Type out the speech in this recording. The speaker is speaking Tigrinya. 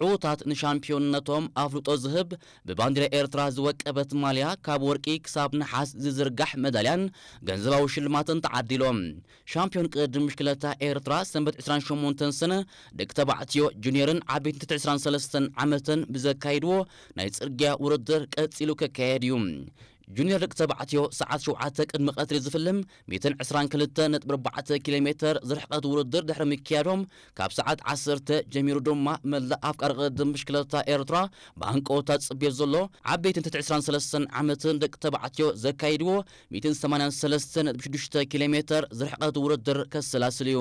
ዕዉታት ንሻምፒዮንነቶም ኣፍልጦ ዝህብ ብባንዲራ ኤርትራ ዝወቀበት ማልያ ካብ ወርቂ ክሳብ ነሓስ ዝዝርጋሕ መዳልያን ገንዘባዊ ሽልማትን ተዓዲሎም። ሻምፒዮን ቅድድም ብሽክለታ ኤርትራ ሰንበት ዕስራን ሸሞንተን ሰነ ደቂ ተባዕትዮ ጁኒየርን ዓበይትን ትሕቲ ዕስራን ሰለስተን ዓመትን ብዘካይድዎ ናይ ጽርግያ ውድድር ቀጺሉ ክካየድ እዩ። ጁኒየር ደቂ ተባዕትዮ ሰዓት ሸውዓተ ቅድሚ ቀትሪ ዝፍልም ሚእትን ዕስራን ክልተ ነጥቢ ኣርባዕተ ኪሎ ሜተር ዝርሕቀት ውድድር ድሕሪ ምክያዶም ካብ ሰዓት ዓሰርተ ጀሚሩ ድማ መላእ ኣፍቃሪ ቅድድም ብሽክለታ ኤርትራ ብሃንቀውታ ዝጽበዮ ዘሎ ዓበይትን ትሕቲ ዕስራን ሰለስተን ዓመትን ደቂ ተባዕትዮ ዘካይድዎ ሚእትን ሰማንያን ሰለስተን ነጥቢ ሽዱሽተ ኪሎ ሜተር ዝርሕቀት ውድድር ከሰላስል እዩ።